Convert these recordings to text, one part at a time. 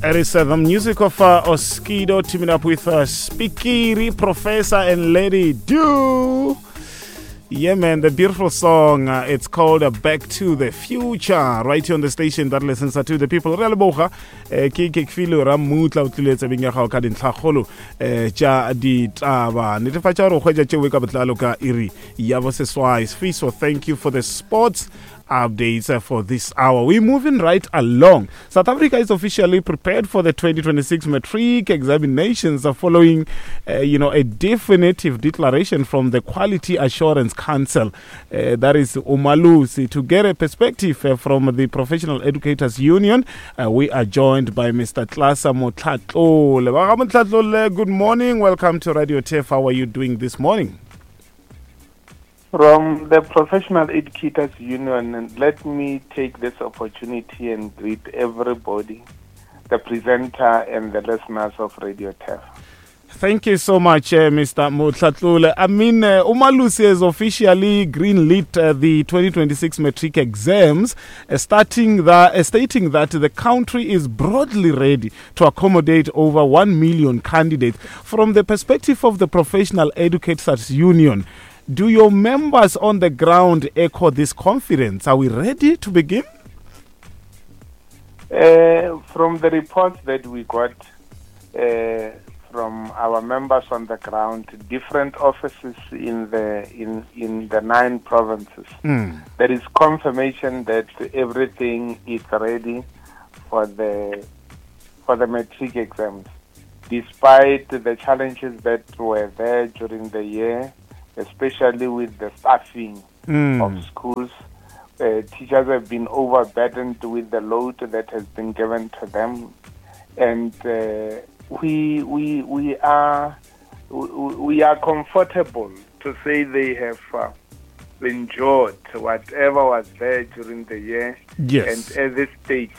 It is the music of Oskido teaming up with Spikiri, Professor, and Lady Du. Yeah, man, the beautiful song. It's called Back to the Future. Right here on the station that listens to the people. Re a leboga ke ke file ra mmutla o tlile tsebeng ya gago ka dintlhakgolo tša ditaba. Netefatša gore o hwetša tšeo ka botlalo ka iri ya boseswai. Sfiso, thank you for the sports updates for this hour. We're moving right along. South Africa is officially prepared for the 2026 matric examinations following, a definitive declaration from the Quality Assurance Council, that is Umalusi. To get a perspective from the Professional Educators Union, we are joined by Mr. Tlasa Motlhatlole. Motlhatlole, good morning. Welcome to Radio Turf. How are you doing this morning? From the Professional Educators Union, let me take this opportunity and greet everybody, the presenter and the listeners of Radio Turf. Thank you so much, Mr. Motlhatlole. I mean, Umalusi has officially greenlit the 2026 matric exams, stating that the country is broadly ready to accommodate over 1 million candidates. From the perspective of the Professional Educators Union, do your members on the ground echo this confidence? Are we ready to begin? From the reports that we got from our members on the ground, different offices in the 9 provinces, there is confirmation that everything is ready for the matric exams, despite the challenges that were there during the year, especially with the staffing of schools. Teachers have been overburdened with the load that has been given to them, and we are comfortable to say they have endured whatever was there during the year. Yes. And at this stage,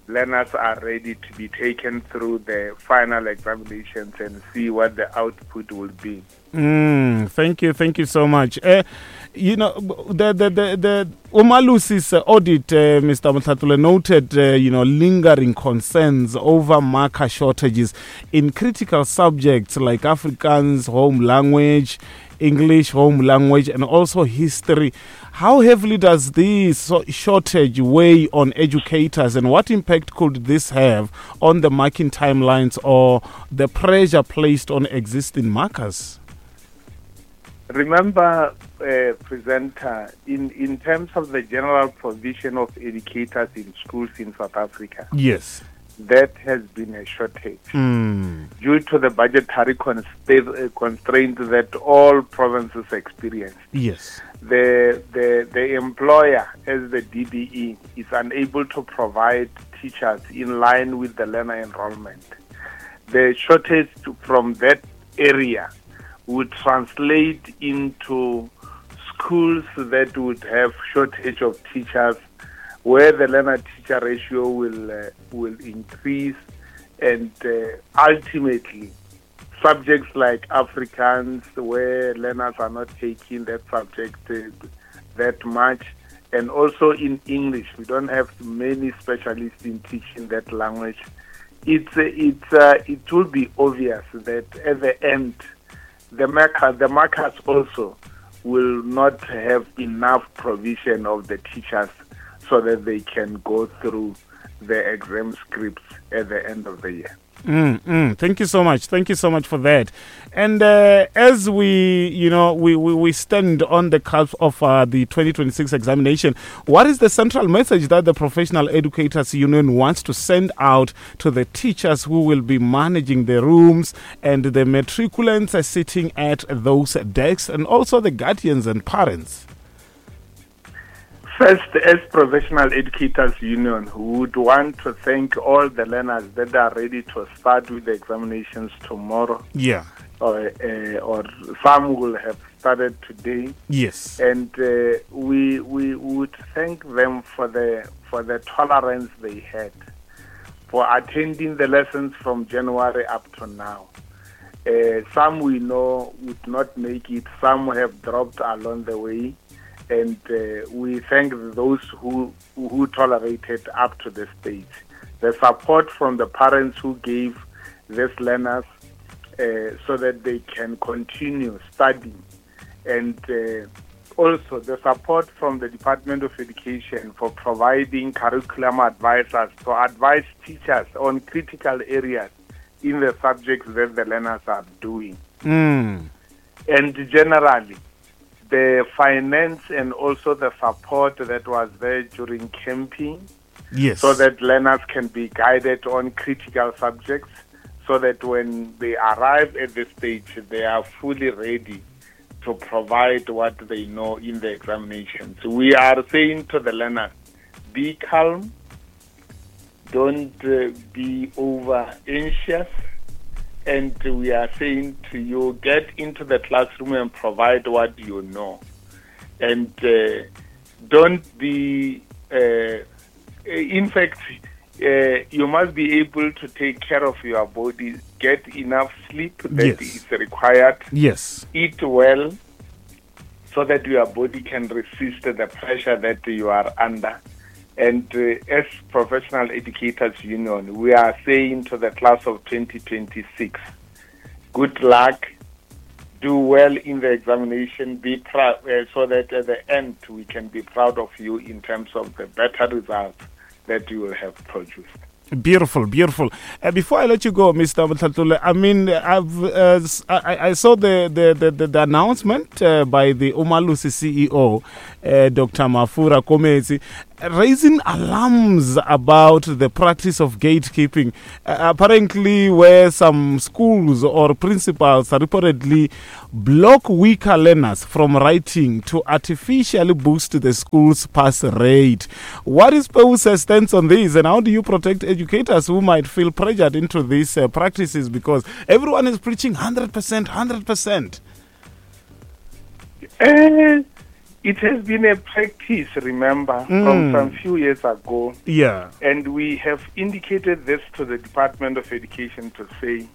learners are ready to be taken through the final examinations and see what the output will be. Thank you, thank you so much. The Umalusi's audit, Mr. Motlhatlole, noted, lingering concerns over marker shortages in critical subjects like Afrikaans, home language, English home language, and also history. How heavily does this shortage weigh on educators, and what impact could this have on the marking timelines or the pressure placed on existing markers? Remember, presenter, in terms of the general provision of educators in schools in South Africa, Yes. that has been a shortage due to the budgetary constraint that all provinces experience. Yes. The employer, as the DBE, is unable to provide teachers in line with the learner enrollment. The shortage from that area would translate into schools that would have shortage of teachers, where the learner-teacher ratio will increase, and ultimately subjects like Afrikaans, where learners are not taking that subject that much, and also in English, we don't have many specialists in teaching that language. It will be obvious that at the end, the markers also will not have enough provision of the teachers so that they can go through the exam scripts at the end of the year. Thank you so much. Thank you so much for that. And as we stand on the cusp of the 2026 examination, what is the central message that the Professional Educators Union wants to send out to the teachers who will be managing the rooms and the matriculants are sitting at those desks, and also the guardians and parents? First, as Professional Educators Union, we would want to thank all the learners that are ready to start with the examinations tomorrow. Yeah. Or some will have started today. Yes. And we would thank them for the tolerance they had for attending the lessons from January up to now. Some we know would not make it. Some have dropped along the way. And we thank those who tolerated up to this stage. The support from the parents who gave these learners so that they can continue studying, and also the support from the Department of Education for providing curriculum advisors to advise teachers on critical areas in the subjects that the learners are doing. And generally, the finance and also the support that was there during camping, so that learners can be guided on critical subjects, so that when they arrive at the stage, they are fully ready to provide what they know in the examinations. We are saying to the learners, be calm, don't be over anxious, and we are saying to you, get into the classroom and provide what you know. And don't be, in fact, you must be able to take care of your body, get enough sleep that is required, eat well, so that your body can resist the pressure that you are under. And as Professional Educators Union, we are saying to the class of 2026, good luck, do well in the examination, be proud, so that at the end we can be proud of you in terms of the better results that you will have produced. Beautiful, beautiful. Before I let you go, Mr. Mohlatlole, I mean, I saw the announcement by the Umalusi CEO, Dr. Mafu Rakometsi, raising alarms about the practice of gatekeeping. Apparently, where some schools or principals reportedly block weaker learners from writing to artificially boost the school's pass rate. What is PEWUSA's stance on this, and how do you protect educators who might feel pressured into these practices, because everyone is preaching 100%, 100%? It has been a practice, remember, from some few years ago. And we have indicated this to the Department of Education to say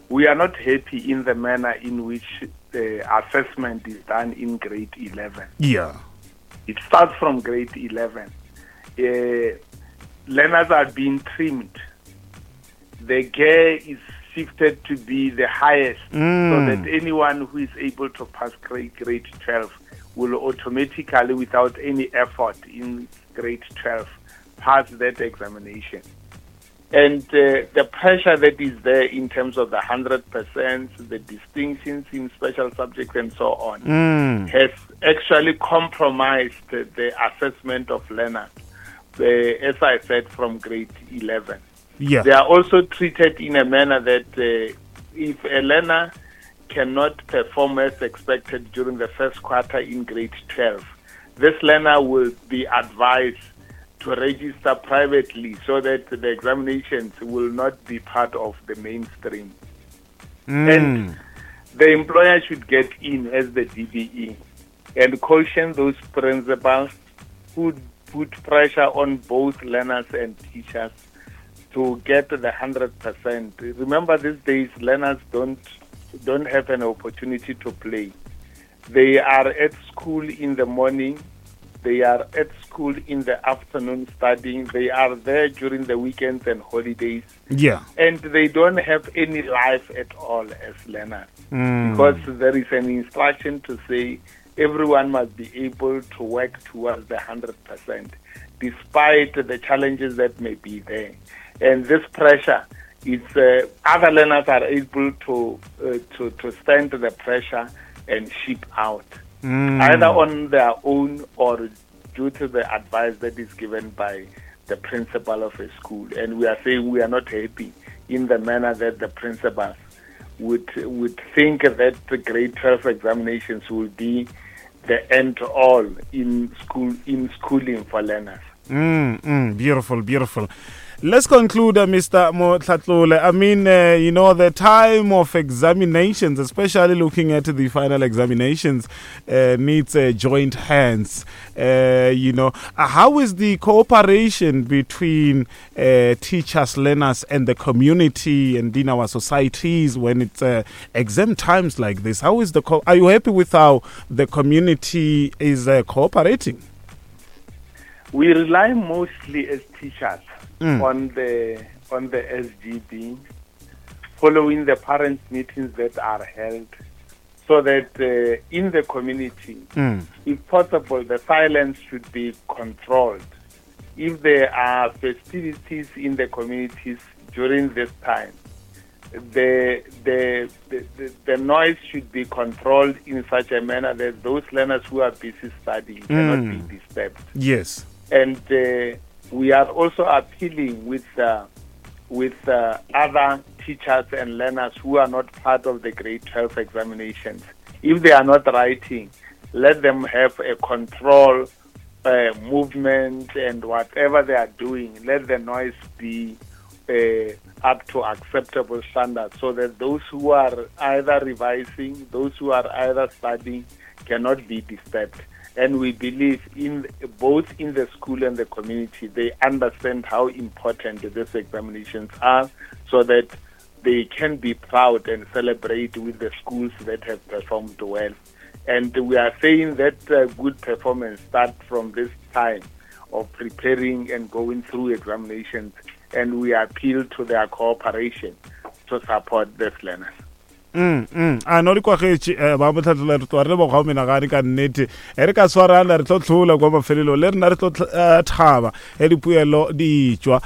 we are not happy in the manner in which the assessment is done in grade 11. It starts from grade 11. Learners are being trimmed. The gear is shifted to be the highest so that anyone who is able to pass grade 12 will automatically, without any effort in grade 12, pass that examination. And the pressure that is there in terms of the 100%, the distinctions in special subjects and so on, has actually compromised the assessment of learners, as I said, from grade 11. They are also treated in a manner that if a learner cannot perform as expected during the first quarter in grade 12, this learner will be advised to register privately so that the examinations will not be part of the mainstream. And the employer should get in as the DBE and caution those principals who put pressure on both learners and teachers to get the 100%. Remember, these days, learners don't have an opportunity to play. They are at school in the morning. They are at school in the afternoon studying. They are there during the weekends and holidays. And they don't have any life at all as learners. Because there is an instruction to say everyone must be able to work towards the 100%, despite the challenges that may be there. And this pressure, other learners are able to stand the pressure and ship out, either on their own or due to the advice that is given by the principal of a school. And we are saying we are not happy in the manner that the principals would think that the grade 12 examinations will be the end all in schooling for learners. Beautiful, beautiful. Let's conclude, Mr. Mohlatlole. The time of examinations, especially looking at the final examinations, needs joint hands. How is the cooperation between teachers, learners, and the community and in our societies when it's exam times like this? Are you happy with how the community is cooperating? We rely mostly as teachers on the on the SGB, following the parents' meetings that are held, so that in the community, if possible, the silence should be controlled. If there are festivities in the communities during this time, the, the, the, the, the noise should be controlled in such a manner that those learners who are busy studying cannot be disturbed. Yes. And we are also appealing with with other teachers and learners who are not part of the grade 12 examinations. If they are not writing, let them have a control movement and whatever they are doing, let the noise be up to acceptable standards so that those who are either revising, those who are either studying, cannot be disturbed. And we believe in both in the school and the community, they understand how important these examinations are so that they can be proud and celebrate with the schools that have performed well. And we are saying that good performance starts from this time of preparing and going through examinations, and we appeal to their cooperation to support these learners. A no di kwagetše ba motlhatlola re tloa re leboga o menagane ka nnete e re ka swarana re tlo tlhola kwa mafelelong le rena re tlo thaba e dipuelo di tšwa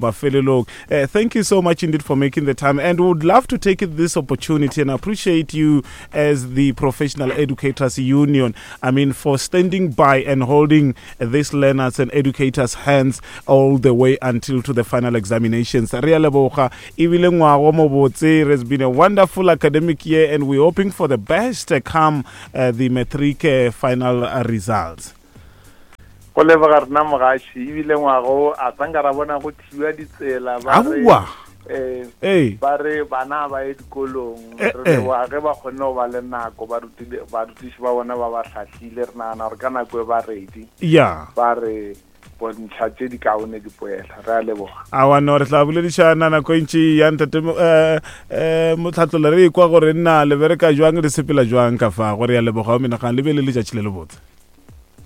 mafelelong. Thank you so much indeed for making the time, and we would love to take this opportunity and appreciate you as the Professional Educators Union, I mean, for standing by and holding these learners and educators' hands all the way until to the final examinations. Re a leboga ebile ngwago mo botse. It has been a wonderful academic year, and we're hoping for the best come the matric final results. Go leboga rena mogaši ebile ngwago a sanka ra bona go thiwa ditsela ba re Aowa. Ba re bana ba ye dikolong. Re leboga ge ba kgonne go ba le nako, barutiši ba bona ba ba hlahlile. Re nagana gore ka nako e ba ready. Ba re bontšha tše di kaone dipoela. Re a leboga. Awa no, re tla boledišana nako e ntši ya ntate Motlhatlola, re ekwa gore nna le bereka jwang, le sepela jwang ka fa. Gore ya leboga o menagano, le be le letšatši le lebotse.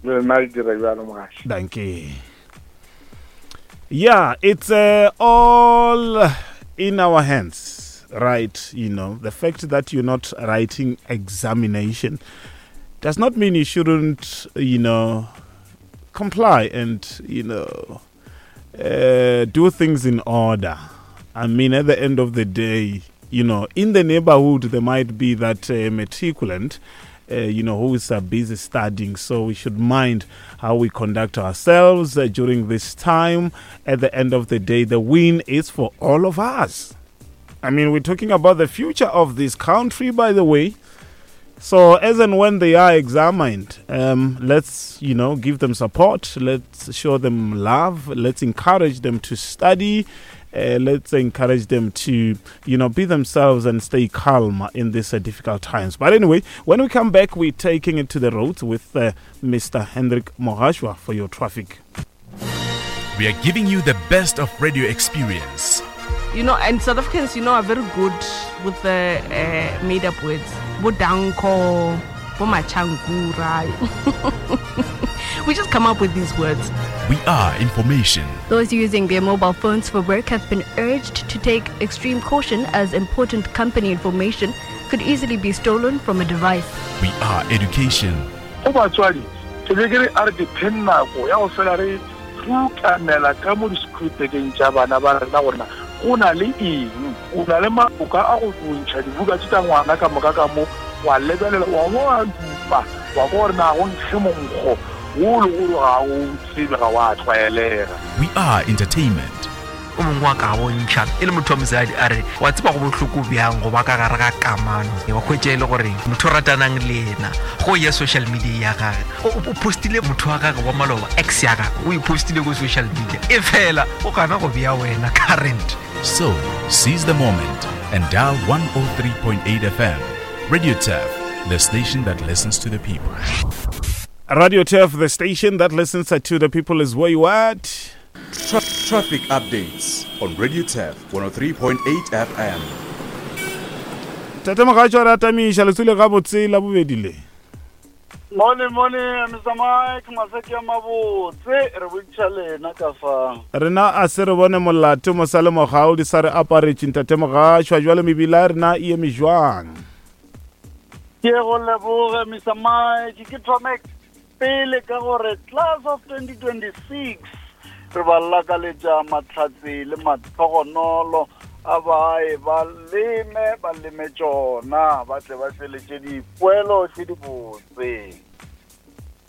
Le lena le dira bjalo, mogaši. Dankie. Yeah, it's all in our hands, right? You know, the fact that you're not writing examination does not mean you shouldn't, you know, comply and, you know, do things in order. I mean, at the end of the day, you know, in the neighborhood, there might be that matriculant, you know, who is busy studying. So we should mind how we conduct ourselves during this time. At the end of the day, the win is for all of us. I mean, we're talking about the future of this country, by the way. So as and when they are examined, let's, you know, give them support. Let's show them love. Let's encourage them to study. Let's encourage them to, you know, be themselves and stay calm in these difficult times. But anyway, when we come back, we're taking it to the roads with Mr. Hendrik Mogashwa for your traffic. We are giving you the best of radio experience. You know, and South Africans, you know, are very good with the made-up words. Bo danko, bo machangura. We just come up with these words. We are information. Those using their mobile phones for work have been urged to take extreme caution as important company information could easily be stolen from a device. We are education. Go batswadi, ke be ke re a re dipheng nako ya go fela re rukanela ka mo di-schoolbageng tša bana ba rena gore na go na le eng. O na le maboka a go ntšha dibuka tše tša ngwana ka moka ka mo, wa lebelela, wa bo wa dupa, wa kwa gore na go nkge monkgo wo le gore ga o tsebe, ga wa tlwaelega. We are entertainment. O mongwe wa ka bontšha e le motho wa mosadi a re wa tseba go bohloko bjang go ba ka gare ga kamano, wa hwetša e le gore motho o ratanang le yena go ya social media ya gage o postile motho wa gage wa maloba, ex ya gage o e postile ko social media, e fela o gana go bea wena current. So seize the moment and dial 103.8 FM. Radio Turf, the station that listens to the people. Radio Turf, the station that listens to the people, is where you at. Traffic updates on Radio Turf 103.8 FM. Tate Mogatšo, re atamiša letswele gabotse la bobedi le. Mone mone Mr Mike maseke a mabotse re bontšha lena ka fa. Rena a se re bone molato mosale mogau di sa re aparetše ntate Mogašwa jwale mebila ya rena e eme jwang? Ke go leboge Mr Mike ke thome pele ka gore class of 2026 re ba lakaletša mahlatse le matlhogonolo a bae ba leme ba leme tšona ba tle ba tšweletše dipoelo tše dibotse.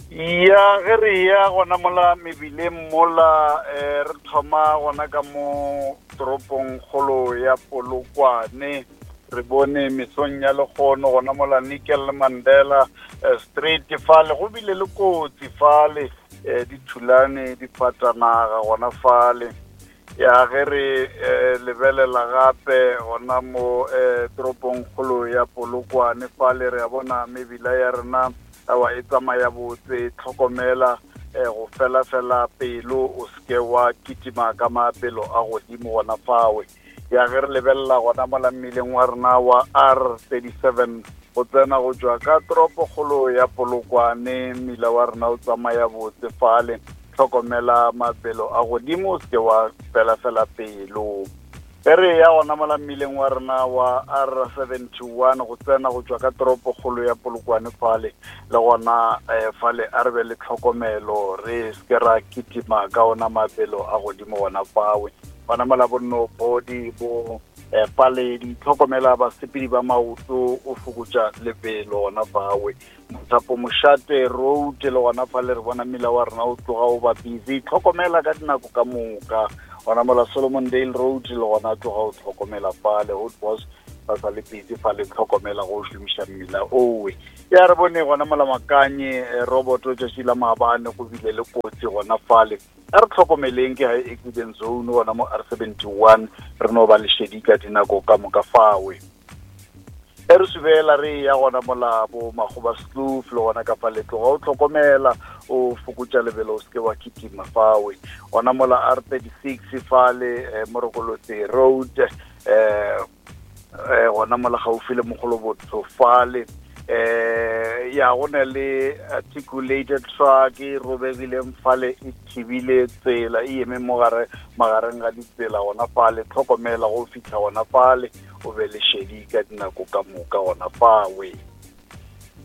Ya ge re ya gona mola mebileng mola eh, re thoma gona ka mo toropong kgolo ya Polokwane re bone mesong ya lekgono gona mola Nickel Mandela eh, Street fale go bile le kotsi fale eh, di thulane di fatanaga gona fale ya ge re eh, lebelela gape gona mo eh, toropong kgolo ya Polokwane fale re a bona mebila ya rena awa e tsamaya botse tlhokomela eh, go fela fela pelo o seke wa kitima ka mabelo a godimo gona fawe ya ge re lebelela gona mola mmileng wa rena wa R37 go tsena go tšwa ka toropokgolo ya Polokwane mmila wa rena o tsamaya botse fale tlhokomela mabelo a godimo o seke wa felafela pelo ge re ya gona mola mmileng wa rena wa R71 go tsena go tšwa ka toropokgolo ya Polokwane fale le gona eh, fale a re be le tlhokomelo re seke ra kitima ka ona mabelo a godimo gona fawe gona mola bonno body bo eh, paledi tlhokomela basepedi ba maoto o fokotša lebelo gona fawe mothapo mošate road le gona fa le re bona mmila wa rena o tloga o ba busy tlhokomela ka dinako ka moka gona mola Solomon Dale road le gona tloga o tlhokomela fale hot boss ba sa le busy fa le tlhokomela go šomiša mmila owe ya re bone gona mola makanye eh, roboto tšatši la maabane go bile le kotsi gona fale a re tlhokomeleng ke high accident zone gona mo R 71 re no ba lešedi ka dinako ka moka fawe e re subela re ya gona mola bo magoba sloof le gona ka fa letloga o tlhokomela o fokotša lebelo o seke wa kitima fawe gona mola R 36 fale eh, morokolotse road eh eh gona mola gaufi le mogolobotho fale eh ya go na le articulated truck e robegileng fale e thibile tsela e eme mo gare magareng ga ditsela gona fale tlhokomela go fitlha gona fale o be le šedi ka dinako ka moka gona fawe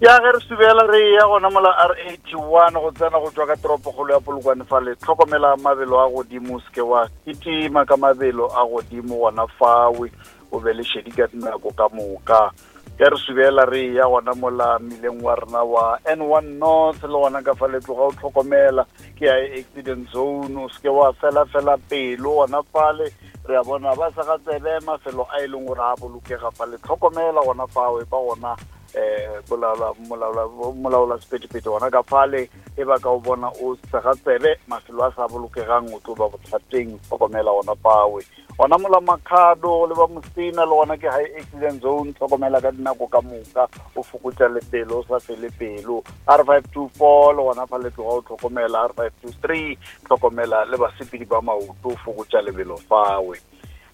ya ge re subela re ya gona mola R81 go tsena go tšwa ka toropokgolo ya Polokwane fale tlhokomela mabelo a godimo seke wa kitima ka mabelo a godimo gona fawe o be le šedi ka dinako ka moka ge re subela re ya gona mola mmileng wa rena wa N1 North le gona ka fa letloga o tlhokomela ke ya accident zone o seke wa fela fela pelo gona fale re a bona ba sa ga tsebe mafelo a e leng gore a bolokega fa le tlhokomela gona fawe ba gona um molaola sephethephethe gona ka fale e ba ka o bona o sega tsebe mafelo a sa bolokegang o tlo ba bothateng tlhokomela gona fawe gona mola makhado le ba mosina le gona ke high accident zone tlhokomela ka dinako ka moka o fokotša lebelo o sa fele pelo R 524 le gona fa le tloga o tlhokomela R 523 tlhokomela le basepedi ba maoto o fokotša lebelo fawe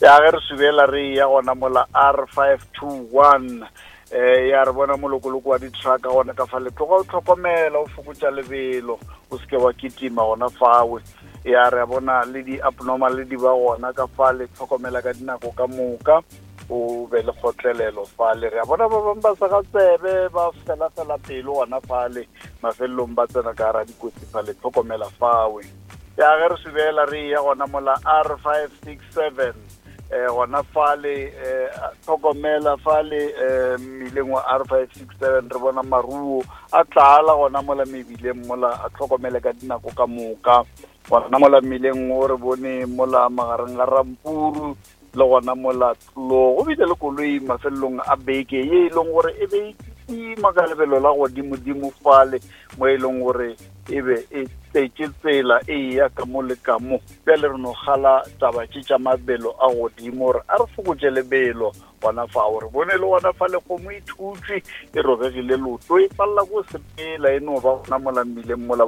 ya ge re subela re ya gona mola R 521 eh ya re bona molokoloko wa ditrucka gona ka fa letloga o tlhokomela o fokotša lebelo o seke wa kitima gona fawe ya re bona le di-abnormal le di ba gona ka fale tlhokomela ka dinako ka moka o be le kgotlelelo fale re a bona ba bangwe ba sa ga tsebe ba fela-fela pelo gona fale mafelelong ba tsena ka gara dikotsi fale tlhokomela fawe ya ge re subela re ya gona mola R 567 eh gona fale eh tlhokomela fale eh mmileng wa R 567 re bona maruo a tlala gona mola mebileng mola a tlhokomele ka dinako ka moka gona mola mmileng o re bone mola magareng ga Rampuru le gona mola tlo go bile le koloi mafelelong a beke ye e leng gore e be e kitima ka lebelo la godimodimo fale mo e leng gore e be e tletše tsela e ya ka mo le ka mo bjale re no gala taba tše tša mabelo a godimo gore a re fokotše lebelo gona fao re bone le gona fa lekgomo e thutšwe e robegile loto e palela ko sepela e no ba gona mola mmileng mola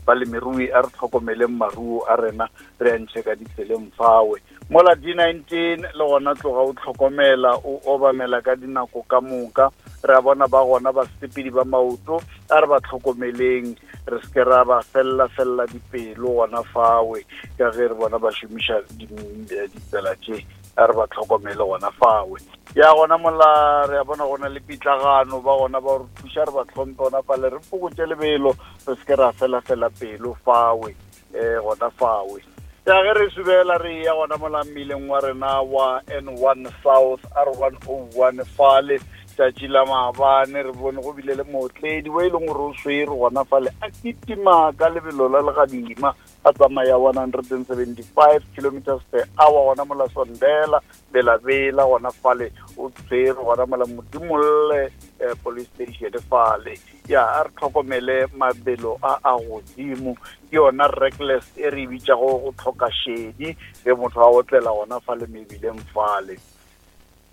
balemirui a re tlhokomeleng maruo a rena re a ntšhe ka ditseleng fawe. Mola D19 le gona tloga o tlhokomela o obamela ka dinako ka moka. Re a bona ba gona basepedi ba maoto, a re ba tlhokomeleng, re se ke ra ba felela felela dipelo gona fawe, ka ge re bona ba šomiša ditsela tše, a re ba tlhokomele gona fawe. Ya gona mola re a bona gona le pitlagano, ba gona ba re thuša, re ba tlhomphe gona fale, re fokotše lebelo, re se ke ra fela fela pelo fawe. um gona fawe. Ya ge re subela re ya gona mola mmileng wa rena wa N1 South R101 fale tšatši la maabane re bone go bile le mootledi o e leng gore o swere gona fale a kitima ka lebelo la legadima a tsamaya 175 kilometers per hour gona mola Sondela Belabela gona fale o tshwere gona mola Modimolle eh, police station fale. Ya a re tlhokomele mabelo a a godimo, ke yona reckless e re e bitšago go tlhoka šedi ge motho a otlela gona fale mebileng fale.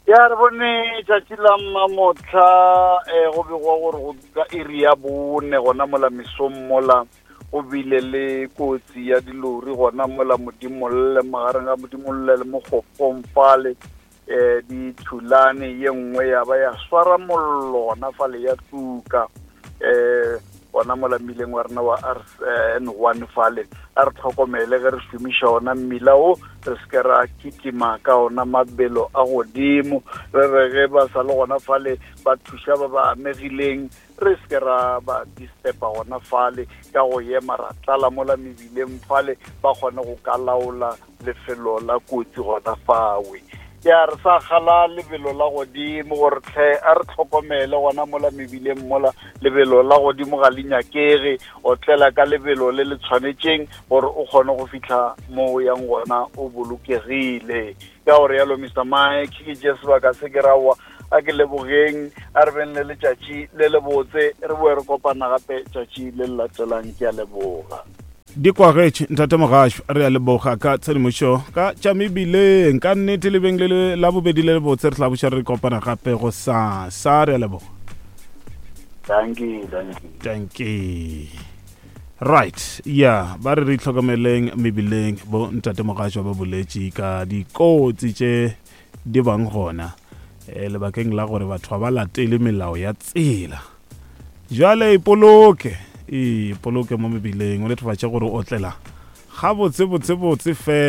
Ya re bone tšatši la mmamohla um go begwa gore go ka iri ya bone gona mola mesong mola go bile le kotsi ya dilori gona mola Modimolle, magareng ga Modimolle le Mokgopong fale. Eh, di thulane, ye nngwe ya ba ya swara mollo gona fale ya tuka eh gona mola mmileng wa rena wa RN1 fale. A re tlhokomele ge re šomiša ona mmila o, re se ke ra kitima ka ona mabelo a godimo. Re re ge ba sa le gona fale ba thuša ba ba amegileng, re se ke ra ba disturba gona fale ka go ema ra tlala mola mebileng fale, ba kgone go ka laola lefelo la kotsi gona fawe. Ya re sa gala lebelo la godimo gore tlhe a re tlhokomele gona mola mebileng mola, lebelo la godimo ga le nyakege, otlela ka lebelo le le tshwanetšeng gore o kgone go fihla mo o yang gona o bolokegile. Ka gore yalo Mister Mike, ke tše sebaka se ke rawa a ke lebogeng, a re beng le letšatši le lebotse, re boe re kopana gape tšatši le le latelang. Ke a leboga. Di kwagetše ntate Mogašo, re a leboga ka tshedimošo ka tša mebileng. Ka nnete le beng le la bobedi le lebotse, re tla buša re kopana gape go sasa. Re a leboga. Dankie, dankie. Dankie. Right, ya ba re re itlhokomeleng mebileng. Bo ntate Mogašo ba boletše ka dikotsi tše di bang gona e, lebakeng la gore batho ga ba latele melao ya tsela. Jwale ipoloke, ipoloke mo mebileng, o netefatše gore o otlela gabotse botse botse fela.